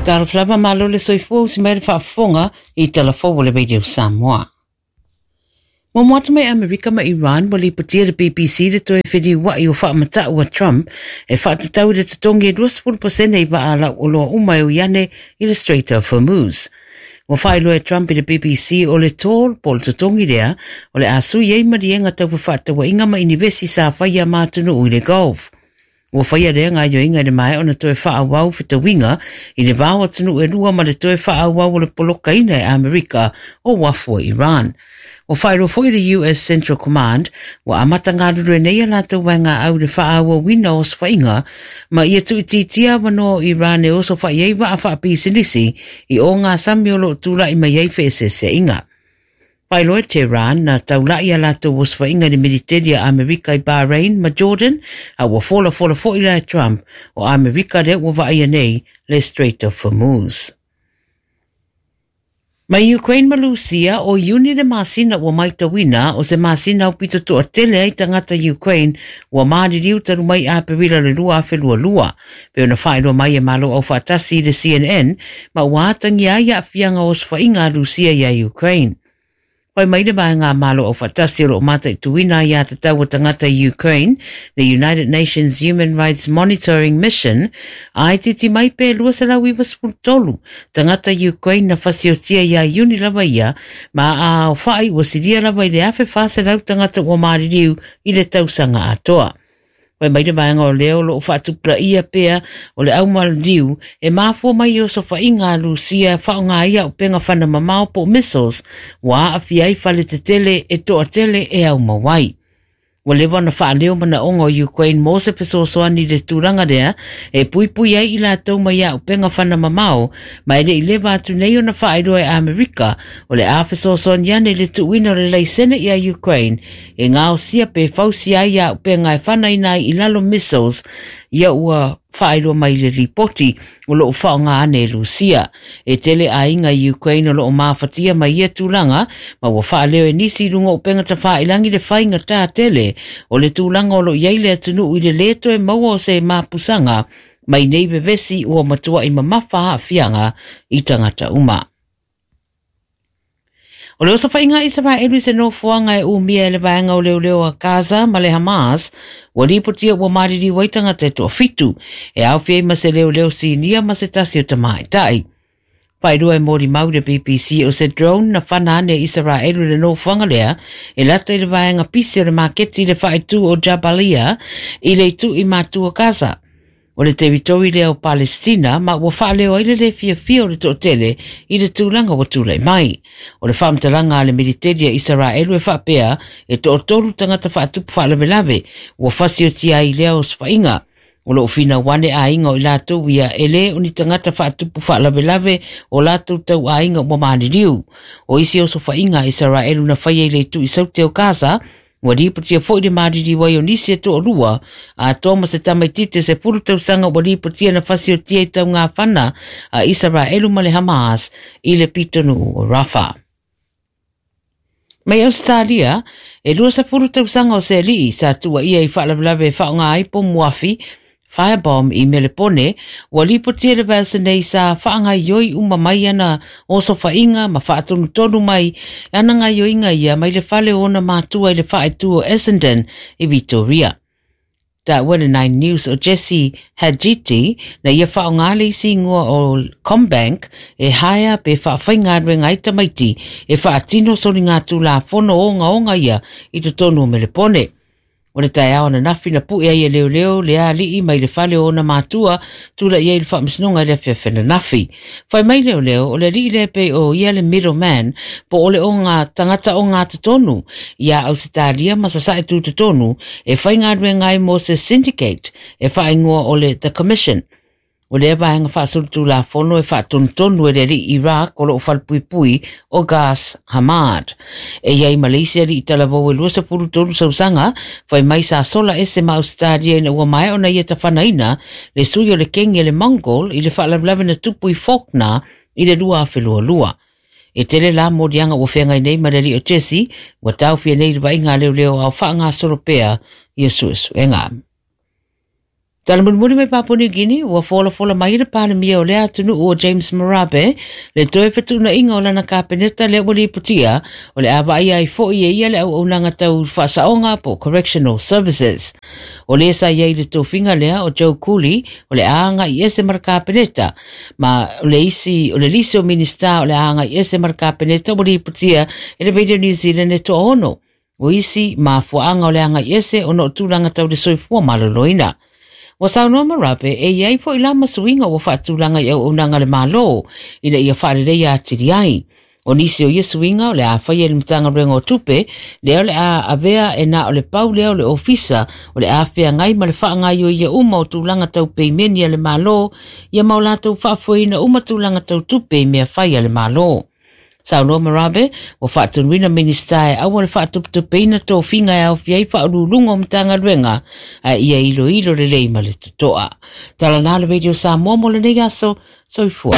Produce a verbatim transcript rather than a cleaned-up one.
Talofa lava malo le soifua usi mai le faafofoga i talafou o le Radio Samoa. Mo atu mai Amerika ma Iran ua lipotia le B B C le toe feliua'i o faamata'u a Trump e faatatau i le totogi e luasefulu pasene i vaa lau oloa uma e ui ane i le Strait of Hormuz. Ua faailoa e Trump i le B B C o le toll po o le totogi lea o le a sui ai maliega tau fefaatauaiga ma inivesi sa faia ma atunuu i le Gulf. Ua faia lea gaoioiga i le maea ona toe faaauau fetauiga i le va o atunuu e lua ma le toe faaauau o le polokaina e Amerika o uafu o Iran. Ua faailoa foi le U S Central Command ua amata galulue nei a latou vaegaau i le faaauauina o osofaiga ma ia tuuitiitia avanoa o Iran e osofa'i ai vaa faapisinisi i ogasami o loo tula'i mai ai feeseeseaiga. Faailoa e Tehran na taula'i a latou osofaiga i le Militeli a Amerika i Bahrain ma Jordan, a ua folafola fo'i la e Trump o Amerika lea ua vaaia nei le Strait of Hormuz. Mai Ukraine ma Lusia, o Iuni le masina ua maitauina o se masina aupito toatele ai tagata Ukraine ua maliliu talu mai Aperila le lua afe lua lua. Pe ona faailoa mai e Malo Aufaatasi i le C N N ma ua atagia ai aafiaga o osofaiga a Lusia ia Ukraine. Fai mai le vaega Malo Aufaatasi o loo mataituina aiā tatau a tagata Ukraine, the United Nations Human Rights Monitoring Mission, a itiiti mai pe lua selau iva sefulu tolu tagata Ukraine na fasiotia ia Iuni lava ia, ma a aofa'i ua silia lava i le afe fa selau tagata ua maliliu i le tausaga atoa. Fai mai le vaega o lea o loo faatupulaia pea o le aumaliliu e mafua mai i osofaiga a Lusia faaaoga ai auupega fana mamao po o missiles ua aafia ai fale tetele e toatele e aumau ai. Ua leva ona faaleo manaoga o Ukraine mo se fesoasoani i le tulaga lea e puipui ai i latou mai auupega fana mamao, ma e le'i leva atu nei ona faailoa e Amerika o le a fesoasoani ane i le tuuina o le laisene ia Ukraine e gaosia pe fausia ai auupega e fanaina ai i lalo missiles ia ua faailoa mai le lipoti o loo faaaoga ane e Lusia. E tele aiga i Ukraine o loo mafatia mai ia tulaga, ma ua faaleo e nisi i luga o upega tafailagi le faigatā tele o le tulaga o loo i ai le atunuu i le lē toe maua o se mapusaga mai nei vevesi ua matua'i mamafa aafiaga i tagata uma. O le osofaiga Isaraelu i se nofoaga e umia e le vaega o leoleo a Gaza ma le Hamas, ua lipotia ua maliliu ai tagata e toafitu, e aofia ai ma se leoleo sinia ma se tasi o tamaitai. Faailoa e molimau le B B C o se drone na fana ane Isaraelu le nofoaga lea e lata i le vaega pisi o le maketi i le faaitu o Jabalia i le itu i matua Gaza. O le teritori lea o Palestina, ma ua faaleo ai le lē fiafia o le toatele i le tulaga ua tulai mai. O le faamatalaga a le militeli a Isaraelu e faapea e toatolu tagata faatupu faalavelave ua fasiotia ai lea osofaiga. O loo finau ane aiga o i latou ia e lē o ni tagata faatupu faalavelave o latou tau aiga ua maliliu. O isi osofaiga a Isaraelu na faia i le itu i saute o Gaza, ua lipotia foi le maliliu ai o nisi e toalua, atoa ma se tamaititi sefulu tausaga ua lipotia na fasiotia i taugafana a Isaraelu ma le Hamas i le pitonuu o Rafa. Mai Australia, e lua sefulu tausaga o se alii sa tuuaia i faalavelave e faaaoga ai pomu afi firebomb i Melepone, ua lipotia le vaiaso nei sa faagaioi uma mai ana osofaiga ma faatonutonu mai ana gaioiga ia mai le fale o ona matua i le faaitu o Essendon i Victoria. Taua le Nine News o Jesse Hadjiti na ia faaaoga le isi igoa o CommBank e hire pe faafaigaluega ai tamaiti e faatino soligatulafono ogaoga ia i totonu o Melepone. O le taeao ananafi na pu'e ai e leoleo le alii mai le fale o ona matua tula'i ai le faamasinoga i le afiafi ananafi. Fai mai leoleo o le alii lea pei o ia le middleman po o le oga tagata oga totonu ia Ausetalia ma sasae tu totonu e faigaluega ai mo se syndicate e faaigoa o le The Commission. O lea vaega faasolitulafono e faatonutonu e le alii Iraq o loo falepuipui o Gas Hamad. E iai ma le isi alii talavou e lua sefulu tolu sausaga fai mai sa sola ese ma Australia ina ua maea ona ia tafanaina le sui o le kengi e le Mongol i le faalavelave na tupu i Fawkner i le lua afe lua lua. E tele la moliaga ua feagai nei ma le alii o Jesse ua taofia nei le vaaiga a leoleo ao faagasolo pea ia suesuega. Tala mulimuli mai Papua New Guinea, ua folafola mai le Palemia o lea atunuu o James Marape, le toe fetuunaiga o lana Kapeneta lea ua lipotia, o le a vaaia ai foi e ia le auaunaga tau faasaoga po o Correctional Services. O le sa i ai i le tofiga lea o Joe Cooley, o le a agai ese ma le Kapeneta, ma o le isi o le lisi o Minista o le a agai ese ma le Kapeneta ua lipotia e le Radio New Zealand e toaono. O isi mafuaaga o le agai ese ona o tulaga tau le soifua maloloina. Ua saunoa Marape e i ai foi la ma suiga ua faatulaga i auaunaga a le Malo ina ia faaleleia atili ai. O nisi o ia suiga o le a faia i le Matagaluega o Tupe, lea o le a avea e na o le pau lea o le ofisa o le a feagai ma le faagaoioia uma o tulaga tau peimeni a le Malo ia ma o latou faafoeina uma tulaga tau tupe i mea fai a le Malo. Saunoa Marape, ua faatonuina Minista e aua le faatupetupeina tofiga e aofia ai faauluuluga o Matagaluega, ae ia iloilo lelei ma le totoa. Tala na le Radio Samoa mo lenei aso, soifua.